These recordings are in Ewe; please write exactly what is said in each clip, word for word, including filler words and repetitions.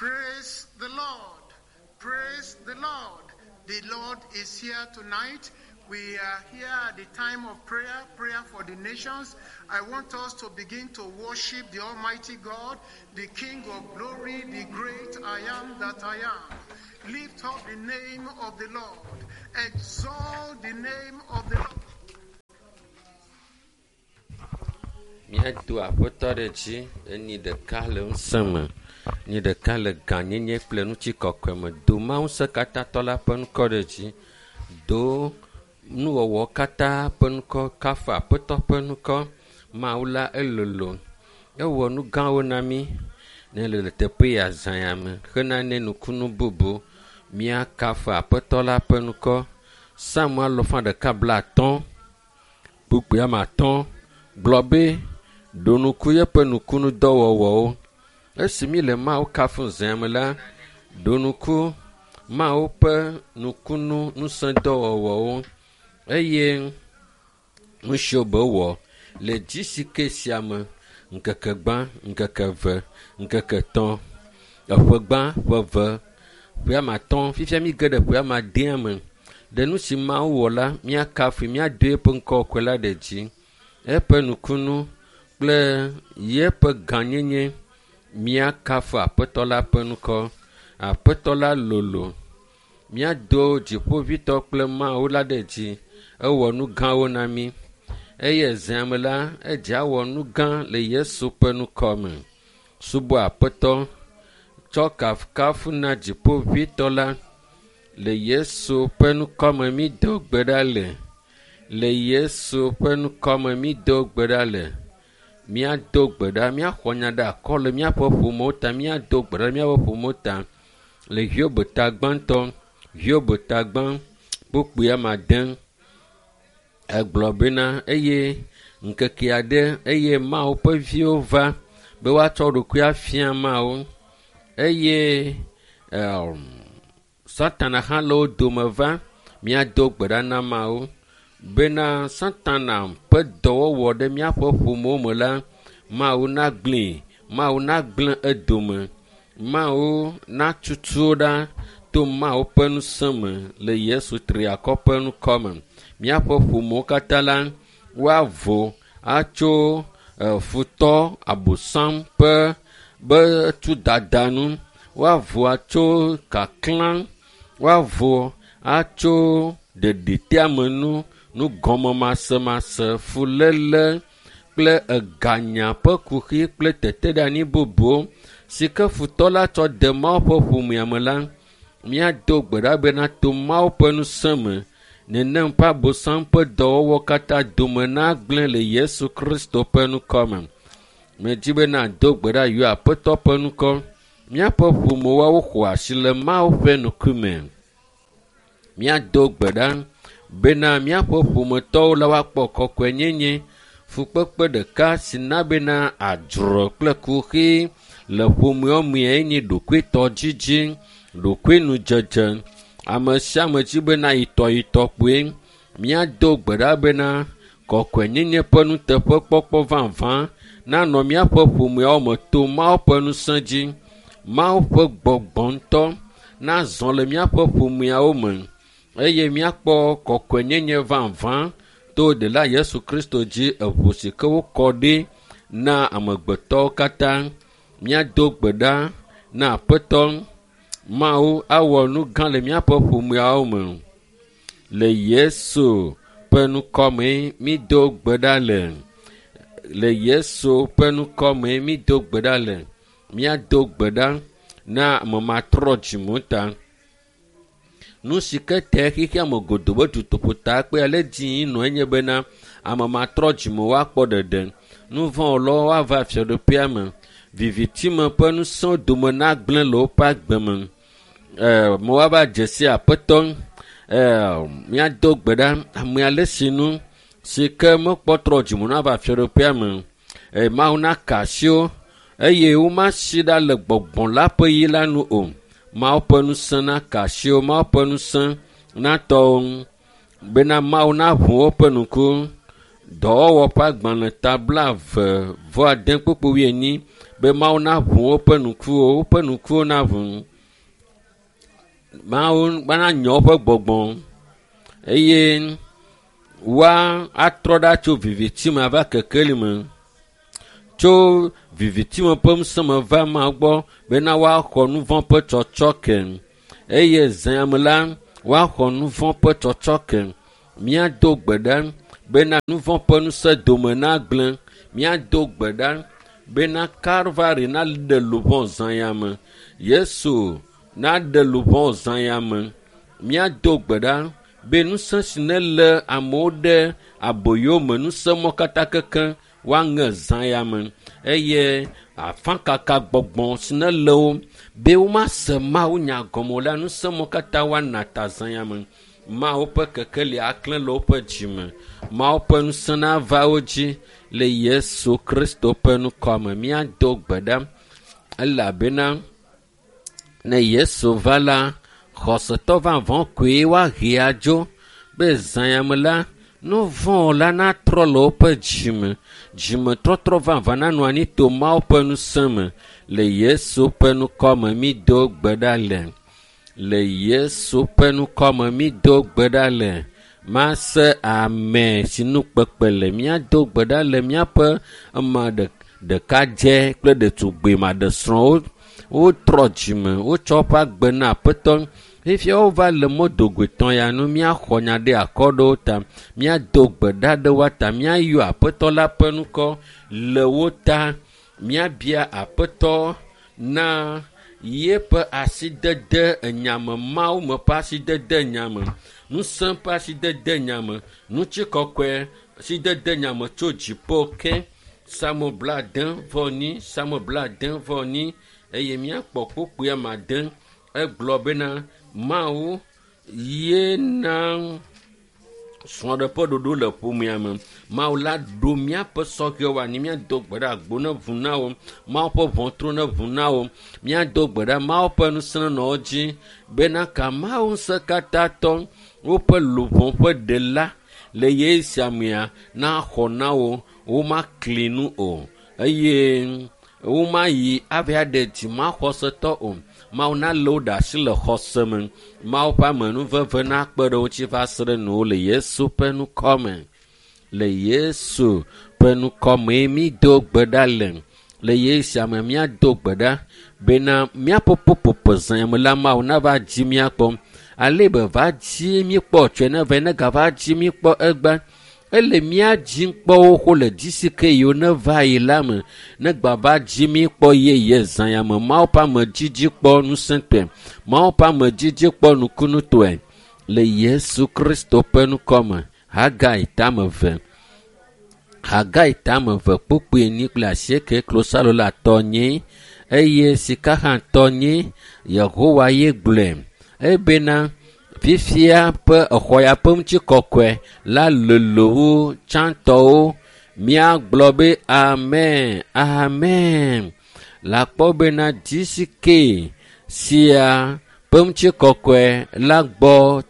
Praise the Lord. Praise the Lord. The Lord is here tonight. We are here at the time of prayer, prayer for the nations. I want us to begin to worship the Almighty God, the King of glory, the great I am that I am. Lift up the name of the Lord. Exalt the name of the Lord. Míado aƒetɔ ɖe dzi enyi ɖeka le ŋusẽ me, nyi ɖeka le gãnyenye kple ŋutikɔkɔe me. Do Mawu ŋusẽkatãtɔ la ƒe ŋkɔ ɖe dzi. Do nuwɔwɔ katã ƒe ŋkɔ kafu aƒetɔ ƒe ŋkɔ. Mawu la elolo. Ewɔ nu gãwo na mí ne le le teƒe ya zã ya me hena ne nukunu bubu. Míakafu aƒetɔ la ƒe ŋkɔ. Psalm alɔfa ɖeka bla atɔ̃ kpukpui ame atɔ̃ gblɔ be ɖo ŋku yeƒe nukunudɔwɔwɔwo. Esi mi le Mawu kafum zã me la, ɖo ŋku Mawu ƒe nukunu ŋusẽdɔwɔwɔwo eye nu siwo be wɔ le dzisike sia me ŋkeke gbã, ŋkeke eve, ŋkeke etɔ̃, eƒe gbã, ƒe eve, ƒe ame atɔ̃. Fifia mi ge ɖe ƒe ame adea me. Ɖe nu si Mawu wɔ la, míakafui, míado eƒe ŋkɔ kɔkɔe la ɖe dzi. Eƒe nukunu kple yeƒe gãnyenye míakafu aƒetɔ la ƒe ŋkɔ. Aƒetɔ la lolo. Míado dziƒovitɔ kple Mawu la ɖe dzi. Ewɔ nu gãwo na mí eye zã me la, edze awɔ nu gã le Yesu ƒe ŋkɔ me. Subɔ aƒetɔ tsɔ kafukafu na dziƒovitɔ la le Yesu ƒe ŋkɔ me mído gbe ɖa le. Le Yesu ƒe ŋkɔ me mído gbe ɖa le. Míado gbe ɖa, míaxɔ nya ɖe akɔ le míaƒe ƒomewo ta, míado gbe ɖa le míaƒe ƒomewo ta. Le Hiob ta gbãtɔ, Hiob ta gbã, kpukpui ame ade. Egblɔ bena eye ŋkeke aɖe eye Mawu ƒe viwo va be woatsɔ ɖokui afia Mawu eye um, Satana hã le wo dome va. Míado gbe ɖa na Mawu bena Satana ƒe dɔwɔwɔ ɖe míaƒe ƒomewo me la, Mawu nagblẽe, Mawu nagblẽ edome, Mawu natutu wo ɖa to Mawu ƒe ŋusẽ me le Yesu triakɔ ƒe ŋkɔ me. Míaƒe ƒomewo katã la, woavo atso futɔ abosam ƒe be tudada nu, woavo atso kaklã, woavo atso ɖeɖiteamenu, nugɔmemasemase, fuléle kple eganya ƒe kuxi kple teteɖeanyi bubuwo si ke futɔ la tsɔ de Mawu ƒe ƒomea me la, míado gbe ɖa bena to Mawu ƒe ŋusẽ me nenem ƒe abosam ƒe dɔwɔwɔ katã dome nagblẽ le Yesu Kristo ƒe ŋkɔ me. Medzi be nado gbe ɖa yɔ aƒetɔ ƒe ŋkɔ. Míaƒe ƒomewoawo xɔ asi le Mawu ƒe ŋkume. Míado gbe ɖa bena míaƒe ƒometɔwo la woakpɔ kɔkɔenyenye, fukpekpe ɖeka si na bena adzro kple kuxi le ƒomewo mee nye ɖokuitɔdzidzi, ɖokuinudzedze. Ame sia ame dzi bena yitɔ yitɔ kpoe. Míado gbe ɖa bena kɔkɔenyenye ƒe nuteƒekpɔkpɔ vavã nanɔ míaƒe ƒomeawo me to Mawu ƒe ŋusẽ dzi. Mawu ƒe gbɔgbɔ ŋutɔ nazɔ le míaƒe ƒomeawo me eye míakpɔ kɔkɔenyenye vavã to ɖela Yesu Kristo dzi eʋu si ke wokɔ ɖi na amegbetɔwo katã. Míado gbe ɖa na aƒetɔ Mawu awɔ nu gã le míaƒe ƒomeawo me. Le Yesu ƒe ŋkɔ me mído gbe ɖa le. Le Yesu ƒe ŋkɔ me mído gbe ɖa le. Míado gbe ɖa na ame matrɔ dzime ta. Nu si ke te xexea me godoo be dutoƒo ta kpe ale dzi nɔ enye bena ame matrɔ dzime woakpɔ ɖeɖe. Nu vɔ̃wɔlawo woava fiaɖuƒea me. Vivitime ƒe ŋusẽwo dome nagblẽ le woƒe agbe me. Ɛɛ me woava dze si aƒetɔ. Ɛɛ míado gbe ɖa ame ale si nu si ke mekpɔ trɔ dzime nava fiaɖuƒea me. Eye Mawu naka asi wo eye womasi ɖa le gbɔgbɔ la ƒe yi la nu o. Mawu ƒe ŋusẽ naka asi wo, Mawu ƒe ŋusẽ natɔ wo ŋu bena Mawu naʋu woƒe ŋku. Dɔwɔwɔ ƒe agbalẽ ta blaeve vɔ ade kpukpui wuienyi be Mawu naʋu woƒe ŋkuwo, woƒe ŋkuwo naʋu. Mawu nanyɔ woƒe gbɔgbɔ eye woa atrɔ ɖa tso viviti me ava kekeli me. Tso viviti me ƒe ŋusẽ me va Mawu gbɔ bena woaxɔ nu vɔ̃ ƒe tsɔtsɔke eye zã me la woaxɔ nu vɔ̃ ƒe tsɔtsɔke. Míado gbe ɖa bena nu vɔ̃ ƒe ŋusẽ dome nagblẽ. Míado gbe ɖa bena Kalvari naɖe luʋɔ zã ya me. Yesu naɖe luʋɔ zã ya me. Míado gbe ɖa be ŋusẽ si nelé amewo ɖe aboyo me, ŋusẽ mɔ katã kekeŋ woaŋe zã ya me eye afakaka gbɔgbɔ si nelé wo be womase Mawu nya gɔme o la, ŋusẽ mɔ katã woana ta zã ya me. Mawu ƒe kekeli aklẽ le woƒe dzime. Mawu ƒe ŋusẽ nava wo dzi le Yesu Kristo ƒe ŋkɔ me. Míado gbe ɖa elabena ne Yesu va la, xɔsetɔ vavã koe woahe adzo be zã ya me la, nu vɔ̃ la natrɔ le woƒe dzime. Dzimetɔtrɔ vavã nanɔ anyi to Mawu ƒe ŋusẽ me le Yesu ƒe ŋkɔ me. Mído gbe ɖa le le Yesu ƒe ŋkɔ me. Mído gbe ɖa le mase ame si nu kpekpe le. Míado gbe ɖa le míaƒe ame ɖekadze kple ɖetugbui maɖesrɔ̃wo. Wotrɔ dzime, wotsɔ woƒe agbe na Aƒetɔ. Fifia wova le mɔdogoetɔ̃ ya nu. Míaxɔ nya ɖe akɔ ɖe wo ta. Míado gbe ɖa ɖe woa ta. Míayɔ Aƒetɔ la ƒe ŋkɔ le wo ta. Míabia Aƒetɔ na yeƒe asidede enyame, Mawu me ƒe asidede enyame, ŋusẽ ƒe asidede enyame, ŋutikɔkɔe asidede enyame tso dziƒo ke. Psalmo blaade vɔ enyi, Psalmo blaade vɔ enyi eye míakpɔ kpukpui ame ade. Egblɔ bena Mawu ye na srɔ̃ɖeƒe ɖoɖo le ƒomea me. Mawu la ɖo míaƒe sɔhɛwo anyi. Míado gbe ɖa agbo ne ʋu na wo. Mawu ƒe ʋɔtru ne ʋu na wo. Míado gbe ɖa Mawu ƒe ŋusẽ nenɔ wo dzi bena ka Mawu ŋusẽ katã tɔ woƒe luʋɔ ƒe ɖela le ɣeyiɣi sia mea naxɔ na wo. Womakli nu o eye womayi ava ɖe dzimaxɔsetɔ o. Mawu nalé wo ɖe asi le xɔse me. Mawu ƒe amenuveve nakpe ɖe wo ŋuti va se ɖe nu le Yesu ƒe ŋkɔ me. Le Yesu ƒe ŋkɔ mee mído gbe ɖa le. Le ɣeyiɣi sia me míado gbe ɖa bena míaƒe ƒuƒoƒo zã me la Mawu nava dzi míakpɔ. Ale be va dzi míkpɔ tsɔe ne va ne gava dzi míkpɔ egbe. Ele mía dzi kpɔ xoxo le dzi si ke yiwo ne va yi la me. Ne gbava dzi míkpɔ yeye zã ya me. Mawu ƒe amedzidzi kpɔ ŋusẽtɔe. Mawu ƒe amedzidzi kpɔ nukunutɔe. Le Yesu Kristo ƒe ŋkɔ me. Hagai tame eve. Hagai tame eve kpukpui enyi kple asieke klosalo la tɔ nyi eye sika hã tɔ nyi. Yehowa ye gblɔe ebena fifia ƒe exɔ ya ƒe ŋutikɔkɔe la lolo wu tsãtɔwo. Míagblɔ be amen, amen. Le akpɔ bena dzi si ke sia ƒe ŋutikɔkɔe la gbɔ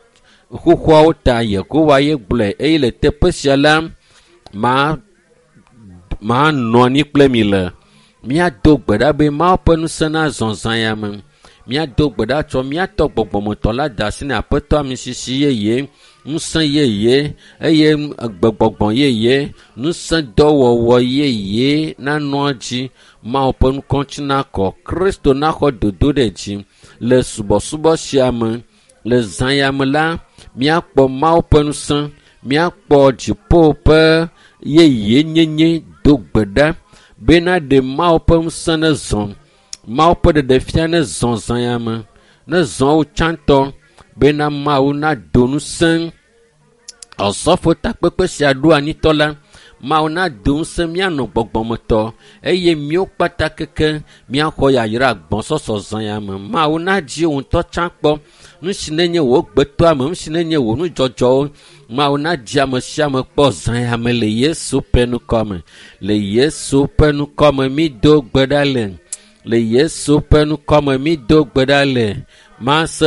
xoxoawo ta Yehowa ye gblɔe eye le teƒe sia la ma manɔ anyi kple mi le. Míado gbe ɖa be Mawu ƒe ŋusẽ nazɔ zã ya me. Míado gbe ɖa tsɔ míatɔ gbɔgbɔmetɔ la da asi na Aƒetɔ amisisi yeye, ŋusẽ yeye eye gbegbɔgbɔ yeye, ŋusẽ dɔwɔwɔ yeye nanɔ edzi. Mawu ƒe ŋkɔ ŋuti nakɔ. Kristo naxɔ dodo ɖe dzi le subɔsubɔ sia me. Le zã ya me la, míakpɔ Mawu ƒe ŋusẽ, míakpɔ dziƒo ƒe yeyenyenye. Do gbe ɖa bena ɖe Mawu ƒe ŋusẽ nezɔ. Mawu ƒe ɖeɖefia nezɔ zã ya me. Nezɔ wo tsãtɔ bena Mawu nado ŋusẽ Osɔfo takpekpe sia ɖo anyitɔ la. Mawu nado ŋusẽ míanɔ gbɔgbɔmetɔ eye míwo kpata keke míaxɔ yayra gbɔsɔsɔ zã ya me. Mawu nadzi wò ŋutɔ tsã kpɔ nu si nenye wò gbetɔame, nu si nenye wò nudzɔdzɔwo. Mawu nadzi ame sia ame kpɔ zã ya me le Yesu ƒe ŋkɔ me. Le Yesu ƒe ŋkɔ me mído gbe ɖa le. Le Yesu ƒe ŋkɔ me mído gbe ɖa le. Mase